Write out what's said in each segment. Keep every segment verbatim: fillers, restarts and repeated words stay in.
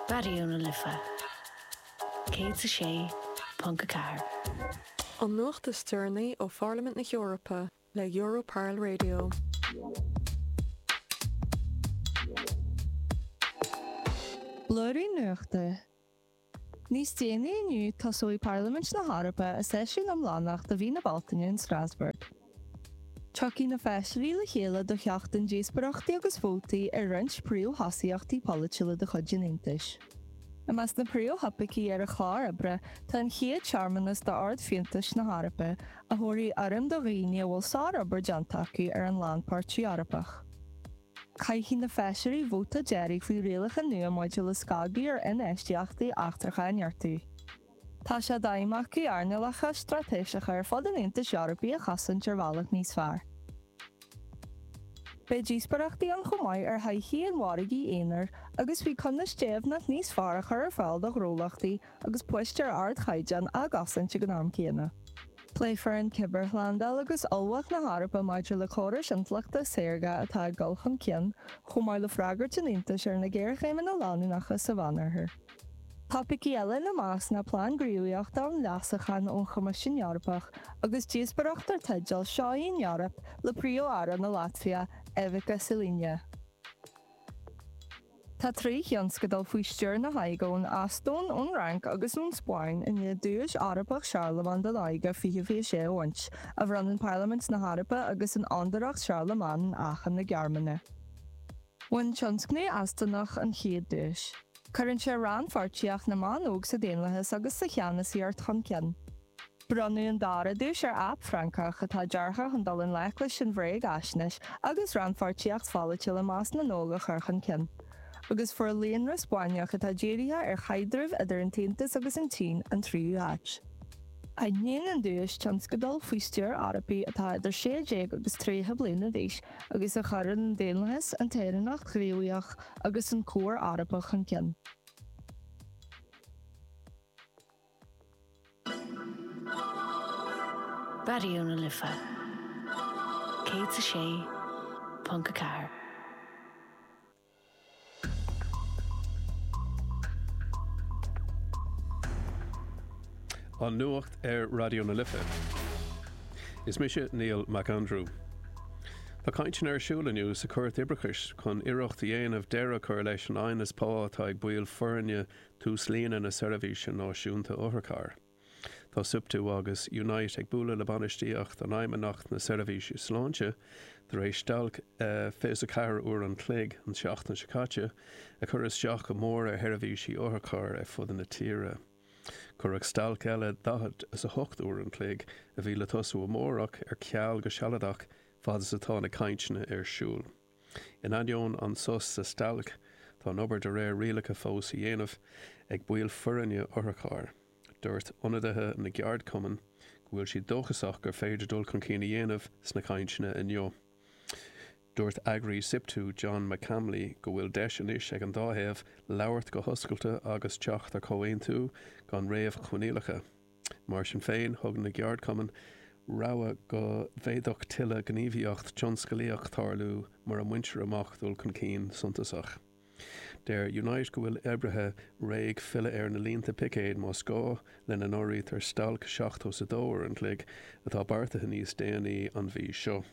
Raidió na Life céad a sé ponc a ceathair. An nuacht is deireanaí ó Pharlaimint na hEorpa le Europarl Radio. Blúirín Nuachta. Níos déanaí inniu tosóidh Parlaimint na hEorpa a seisiún iomlánach do mhí na Bealtaine in Strasbourg. Tiocfaidh na feisirí le chéile do sheachtain díospóireachtaí agus vótaí ar roinnt príomhthosaíochtaí polaitiúla de chuid an Aontais. I measc na príomhthopaicí ar an chlár oibre tá an chéad searmanas d'Ardfhiúntais na hEorpa a thabharfaidh urraim do dhaoine a bhfuil sárobair déanta acu ar an lánpháirtiú Eorpach. Caithfidh na feisirí vóta deiridh faoi rialacha nua maidir le scagadh ar infheistíochtaí eachtracha a neartú. Tá sé d'aidhm acu earnálacha straitéiseacha ar fud an Aontais Eorpaigh a chosaint ar bhealach níos fearr. Beidh díospóireachtaí ann chomh maith ar thodhchaí an mhargaidh aonair agus faoi conas deimhneacht níos fearr a chur ar fáil do ghnólachtaí agus poist ar ardchaighdeán á gcosaint ag an am céanna. Pléifear an chibearshlándáil agus ullmhacht na hEorpa maidir le córais intleachta saorga atá ag dul chun cinn, chomh maith le freagairt an Aontais ar na géarchéimeanna leanúnacha sa Mheánoirthear. Topaicí eile ina measc ná plean gníomhaíochta um leasachán ón Choimisiún Eorpach agus díospóireacht dar teideal Seo í an Eoraip le Príomh-Aire na Laitvia, Evika Siliņa. Tá trí thionscadal faoi stiúir na hóige ón Eastóin, ón Fhrainc agus ón Spáinn i ndiaidh Duais Eorpach Charlemagne don Óige fiche fiche sé a bhaint, a bhronnann Parlaimint na hEorpa agus an Fhondúireacht Charlemagne in Aachen na Gearmáine. Bhain tionscnamh Eastónach an chéad duais. Cuireann sé rannpháirtíocht na mban óg sa daonlathas agus sa cheannasaíocht chun cinn. Bronnadh an dara duais ar aip Francach atá deartha chun dul i ngleic leis an bhréagaisnéis agus rannpháirtíocht pholaitiúil i measc na n-óg a chur chun cinn. Agus fuair líonra Spáinneach atá dírithe ar chaidreamh idir an tAontas agus an tSín an tríú háit. Aithníonn an duais tionscadail faoi stiúir Eorpaigh atá idir sé déag agus tríocha bliana d'aois agus a chuireann an daonlathas, an tsaoránacht ghníomhach agus an comhar Eorpach chun cinn. Raidió na Life céad a sé ponc a ceathair. An nuacht ar Raidió na Life. Is mise Neil McAndrew. Tá cainteanna ar siúl inniu sa Chúirt Oibreachais chun iarracht a dhéanamh deireadh a chur leis an aighneas pá atá ag baill foirne túslíne na Seirbhíse Náisiúnta Otharcharr. Tá Siptu agus Unite ag bualadh le bainistíocht an Fheidhmeannacht na Seirbhíse Sláinte tar éis stailc fiche is a ceathair uair an chloig an tseachtain seo caite a chuir isteach go mór ar sheirbhísí otharchairr ar fud na tíre. Cuireadh stailc eile daichead is a hocht uair an chloig a bhí le tosú amárach ar ceal go sealadach fad is atá na cainteanna ar siúl. In ainneoin an sos sa stailc, tá an obair de réir rialacha fós á dhéanamh ag baill foirne otharchairr. Dúirt ionadaithe na gceardchumann go bhfuil siad dóchasach gur féidir dul chun cinn a dhéanamh sna cainteanna inniu. Dúirt eagraí Siptu John McCamley go bhfuil deis anois ag an dá thaobh labhairt go hoscailte agus teacht ar chomhaontú gan réamhchoinníollacha. Mar sin féin, thug na ceardchumainn rabhadh go bhféadfadh tuilleadh gníomhaíocht tionsclaíoch tarlú mura mbaintear amach dul chun cinn suntasach. Deir Unite go bhfuil oibrithe réidh filleadh ar na línte picéid más gá, lena n-áirítear stailc seachtó is a dó uair an chloig atá beartaithe níos déanaí an mhí seo.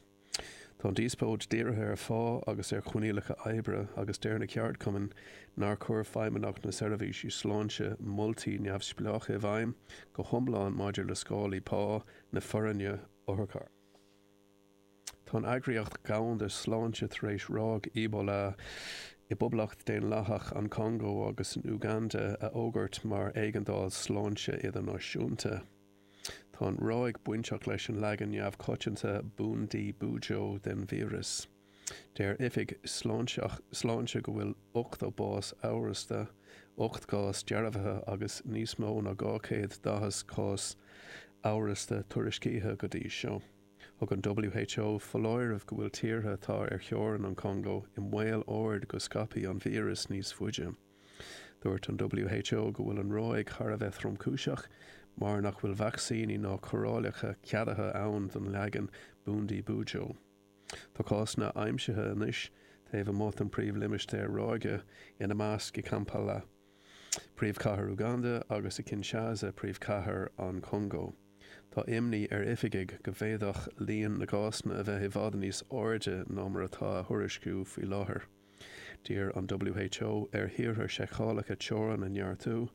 Tá an díospóid dírithe ar phá agus ar choinníollacha oibre agus deir na ceardchumainn nár chuir Feidhmeannacht na Seirbhísí Sláinte moltaí neamhspleácha i bhfeidhm go hiomlán maidir le scálaí pá na foirne otharcharr. Tá an Eagraíocht Dhomhanda Sláinte tar éis ráig Ebola i bPoblacht Daonlathach an Chongó agus in Uganda a fhógairt mar éigeandáil sláinte idirnáisiúnta. Tá an ráig bainteach leis an leagan neamhchoitianta Bundibugyo den víreas. Deir oifig sláinte go bhfuil ochtó bás amhrasta, ocht gcás dearbhaithe agus níos mó ná dhá chéad daichead cás amhrasta tuairiscithe go dtí seo. Thug an WHO foláireamh go bhfuil tíortha atá ar theorainn an Chongó i mbaol ard go scaipfidh an víreas níos faide. Dúirt an WHO go bhfuil an ráig thar a bheith tromchúiseach mar nach bhfuil vacsaíní ná cóireálacha ceadaithe ann don leagan Bundibugyo. Tá cásanna aimsithe anois taobh amuigh den príomhlimistéar ráige, ina measc i Kampala. Príomhchathair Uganda agus i Kinshasa príomhchathair an Chongó. Tá imní ar oifigigh go bhféadfadh líon na gcásanna a bheith i bhfad níos airde ná mar atá á thuairisciú faoi láthair. D'iarr an WHO ar thíortha seiceálacha teorann a neartú,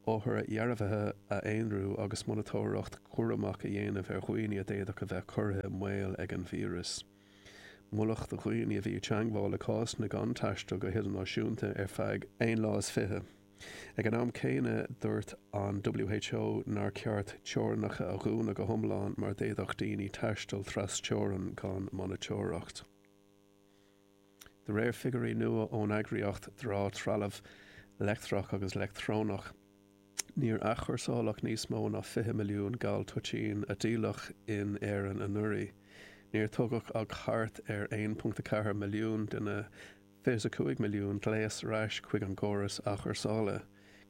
othair dhearbhaithe a aonrú agus monatóireacht chúramach a dhéanamh ar dhaoine a d'fhéadfadh a bheith curtha i mbaol ag an víreas. Moladh do dhaoine a bhí i dteagmháil le cásanna gan taisteal go hidirnáisiúnta ar feadh aon lá is fiche. Ag an am céanna dúirt an WHO nár cheart teorainneacha a dhúnadh go hiomlán mar d'fhéadfadh daoine taisteal trasteorann gan monatóireacht. De réir figiúirí nua ón eagraíocht dramh-trealamh leictreach agus leictreonach, níor athchúrsáladh níos mó ná fiche milliún gal toitín a díoladh in Éirinn anuraidh. Níor tugadh ach thart ar aon ponc a ceathair milliún de na fiche a cúig milliún gléas ar ais chuig an gcóras athchúrsála.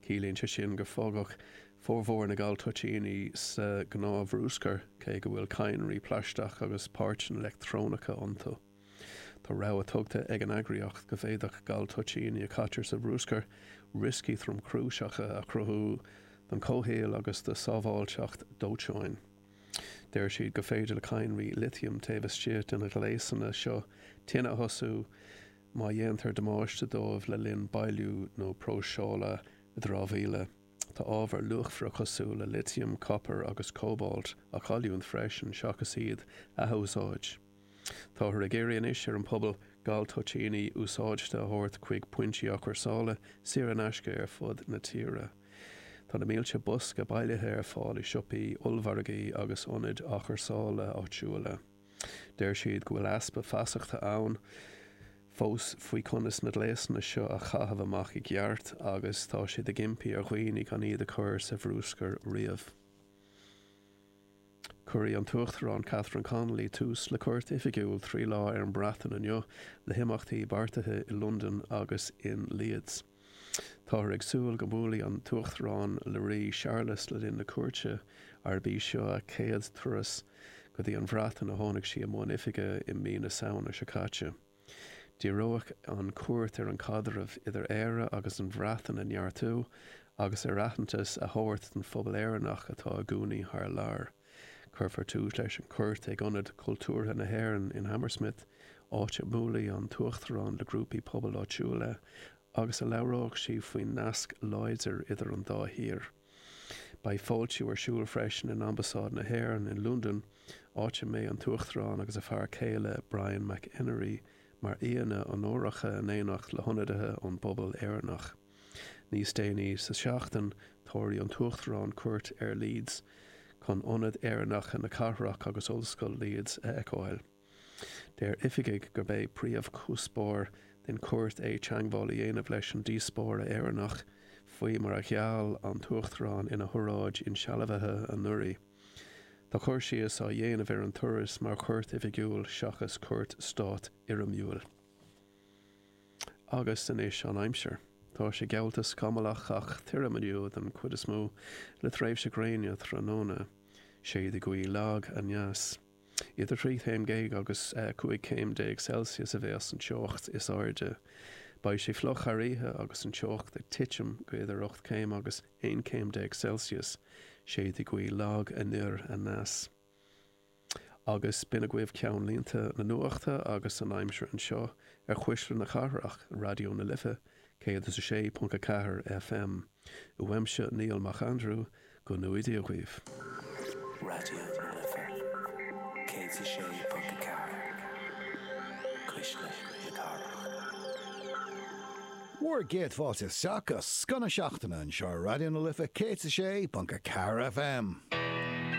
Ciallaíonn sé sin gur fágadh formhór na gal toitíní sa ghnáthbhruscar, cé go bhfuil cadhnraí plaisteach agus páirteanna leictreonacha iontu. Tá rabhadh tugtha ag an eagraíocht go bhféadfadh gal toitíní a chaitear sa bhruscar rioscaí tromchúiseacha a chruthú don chomhshaol agus do sábháilteacht dóiteáin. Deir siad gur féidir le cadhnraí litiam taobh istigh de na gléasanna seo tine a thosú má dhéantar damáiste dóibh le linn bailiú nó próiseála dramhaíola. Tá ábhair luachmhara cosúil le litiam, copar agus cóbalt á gcailliúint freisin seachas iad a athúsáid. Táthar ag iarraidh anois ar an pobal gal toitíní úsáidte a thabhairt chuig pointí athchúrsála saor in aisce ar fud na tíre. Tá na mílte bosca bailithe ar fáil i siopaí, ollmhargaí agus ionaid athchúrsála áitiúla. Deir siad go bhfuil easpa feasachta ann fós faoi conas na gléasanna seo a chaitheamh amach i gceart agus tá siad ag impí ar dhaoine gan iad a chur sa bhruscar riamh. Cuirfidh an tUachtarán Catherine Connolly tús le cuairt oifigiúil trí lá ar an Bhreatain inniu le himeachtaí beartaithe i Londain agus in Leeds. Táthar ag súil go mbuailfidh an tUachtarán le Rí Séarlas le linn na cuairte, arb í seo a céad turas go dtí an Bhreatain ó tháinig sí i mbun oifige i mí na Samhna seo caite. Díreoidh an chuairt ar an chaidreamh idir Éire agus an Bhreatain a neartú agus ar aitheantas a thabhairt don phobal Éireannach atá i gcónaí thar lear. Cuirfear tús leis an chuairt ag Ionad Cultúrtha na hÉireann in Hammersmith, áit a mbuailfidh an tUachtarán le grúpaí pobail áitiúla agus a labhróidh sí faoin nasc láidir idir an dá thír. Beidh fáiltiú ar siúl freisin in Ambasáid na hÉireann in Londain, áit a mbeidh an tUachtarán agus a fear céile Brian McEnery mar aíonna onóracha in éineacht le hionadaithe ón bpobal Éireannach. Níos déanaí sa seachtain, tabharfaidh an tUachtarán cuairt ar Leeds chun ionad Éireannacha na cathrach agus Ollscoil Leeds a fheiceáil. Deir oifigigh gurb é príomhchuspóir den chuairt é teagmháil a dhéanamh leis an diaspóra Éireannach, faoi mar a gheall an tUachtarán ina hóráid insealbhaithe anuraidh. Tá cur síos á dhéanamh ar an turas mar chuairt oifigiúil seachas cuairt stáit fhoirmiúil. Agus anois an aimsir. Tá sé geallta scamallach ach tirim inniu den chuid is mó le tréimhse gréine tráthnóna. Séidfidh gaoth lag aneas. Idir trí chéim déag agus cúig chéim déag Celsius a bheas an teocht is airde. Beidh sé fliuch thar oíche agus an teocht ag titim go idir ocht céim agus aon chéim déag Celsius. Séidfidh gaoth lag anoir aneas. Agus b'in agaibh ceannlínte na nuachta agus an aimsir anseo ar Chuisle na Cathrach, Raidió na Life, céad is a sé ponc a ceathair FM. Uaimse Niall Mac Aindriú, go ngnóthaí Dia dhaoibh. Raidió na Life, céad is a sé ponc a ceathair, Cuisle na Cathrach. Bhur gcéad fáilte isteach go Scoth na Seachtaine anseo ar Raidió na Life céad is a sé ponc a ceathair FM.